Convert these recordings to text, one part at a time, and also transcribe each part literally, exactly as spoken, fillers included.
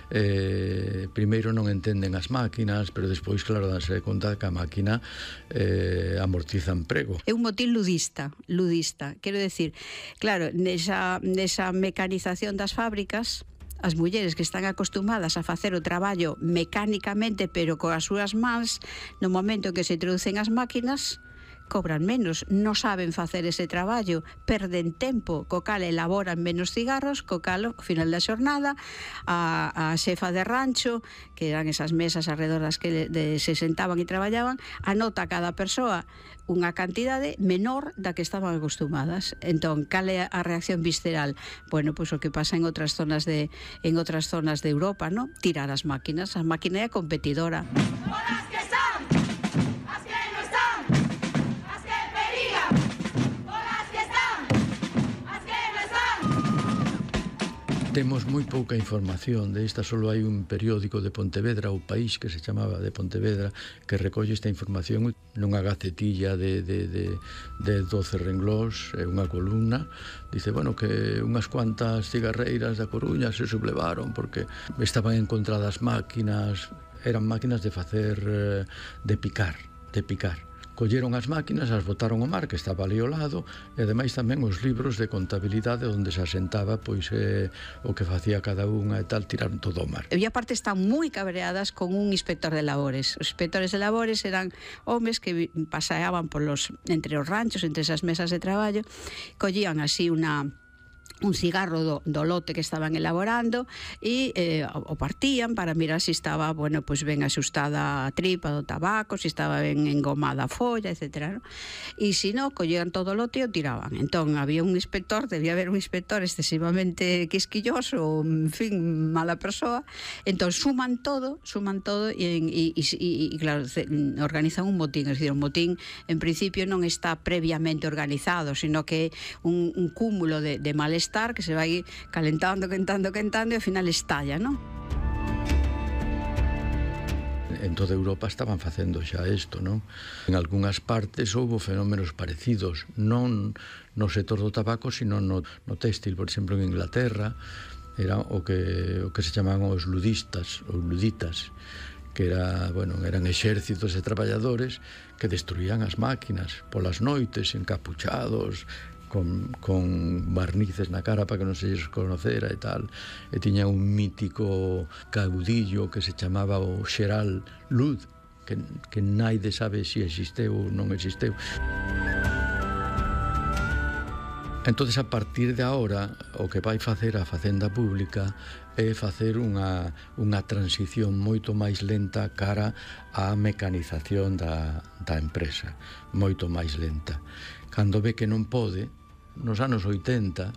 eh, primeiro non entenden as máquinas, pero despois, claro, danse conta que a máquina eh, amortiza emprego. É un motín ludista, ludista. Quero decir, claro, nesa, nesa mecanización das fábricas, as mulleres que están acostumadas a facer o traballo mecánicamente, pero coas súas mans, no momento en que se introducen as máquinas, cobran menos, non saben facer ese traballo, perden tempo, co cal elaboran menos cigarros, co cal, ao final da xornada, a, a xefa de rancho, que eran esas mesas alrededor das que de, se sentaban e traballaban, anota a cada persoa unha cantidade menor da que estaban acostumadas. Entón, cal é a reacción visceral? Bueno, pois o que pasa en outras zonas de en outras zonas de Europa, ¿no? Tirar as máquinas, a máquina é competidora. Temos moi pouca información de esta, solo hai un periódico de Pontevedra, O País, que se chamaba de Pontevedra, que recolle esta información nunha gacetilla de, de, de, de doce renglós, unha columna. Dice, bueno, que unhas cuantas cigarreiras da Coruña se sublevaron porque estaban encontradas máquinas, eran máquinas de facer, de picar, de picar. Colleron as máquinas, as botaron ao mar, que estaba ali ao lado, e ademais tamén os libros de contabilidade onde se asentaba pois eh, o que facía cada unha e tal, tiraron todo ao mar. E aparte están moi cabreadas con un inspector de labores. Os inspectores de labores eran homes que paseaban polos, entre os ranchos, entre esas mesas de traballo, collían así unha un cigarro do, do lote que estaban elaborando e eh, o partían para mirar se si estaba, bueno, pues ben axustada a tripa do tabaco, se si estaba ben engomada a folla, etcétera, ¿no? E se si non, collían todo o lote e o tiraban. Entón, había un inspector, debía haber un inspector excesivamente quisquilloso, en fin, mala persoa. Entón, suman todo, suman todo e, e, e, e claro, organizan un motín. Es decir, un motín, en principio, non está previamente organizado, sino que é un, un cúmulo de, de malestar que se vai calentando, calentando, calentando e ao final estalla, non? En toda Europa estaban facendo xa isto, non? En algunhas partes houve fenómenos parecidos, non no sector do tabaco, sino no, no téxtil. Por exemplo, en Inglaterra era o que, o que se chamaban os ludistas, os luditas, que era, bueno, eran exércitos de traballadores que destruían as máquinas polas noites, encapuchados, Con, con barnices na cara para que non se lles conocera e tal, e tiña un mítico caudillo que se chamaba o Xeral Lud, que, que naide sabe se si existeu ou non existeu. Entonces, a partir de agora, o que vai facer a Facenda Pública é facer unha, unha transición moito máis lenta cara á mecanización da, da empresa, moito máis lenta. Cando ve que non pode, nos anos oitenta,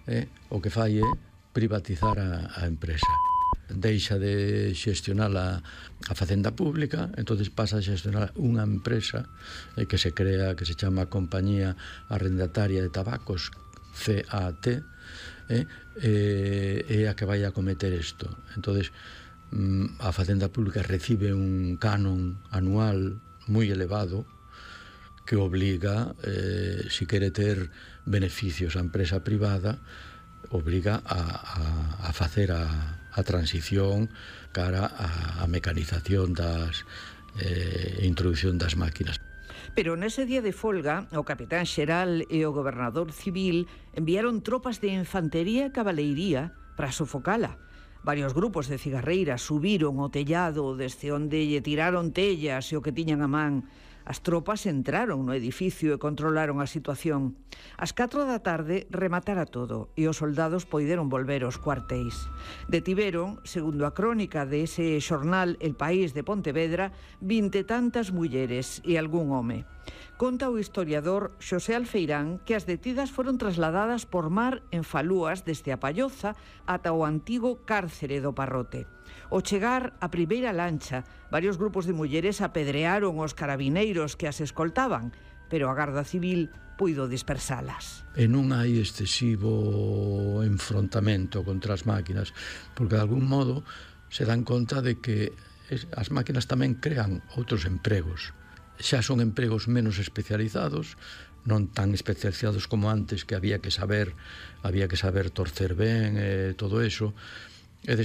eh, o que fai é privatizar a, a empresa. Deixa de xestionar a, a Facenda Pública, entonces pasa a xestionar unha empresa eh, que se crea, que se chama Compañía Arrendataria de Tabacos, C A T, eh, eh, é a que vai a cometer isto. Entonces, mm, a Facenda Pública recibe un canon anual moi elevado, que obliga, eh, si quere ter beneficios a empresa privada, obliga a, a, a facer a, a transición cara a, a mecanización das eh, introducción das máquinas. Pero nese día de folga, o capitán xeral e o gobernador civil enviaron tropas de infantería e cabaleiría para sofocala. Varios grupos de cigarreiras subiron o tellado desde onde lle tiraron tellas e o que tiñan a man. As tropas entraron no edificio e controlaron a situación. Ás catro da tarde rematara todo e os soldados poideron volver aos cuartéis. Detiveron, segundo a crónica de ese xornal El País de Pontevedra, vinte tantas mulleres e algún home. Conta o historiador Xosé Alfeirán que as detidas foron trasladadas por mar en falúas desde a Palloza ata o antigo cárcere do Parrote. Ao chegar a primeira lancha, varios grupos de mulleres apedrearon os carabineiros que as escoltaban, pero a Garda Civil puido dispersalas. E non hai excesivo enfrontamento contra as máquinas, porque de algún modo se dan conta de que as máquinas tamén crean outros empregos. Xa son empregos menos especializados, non tan especializados como antes, que había que saber, había que saber torcer ben e todo eso,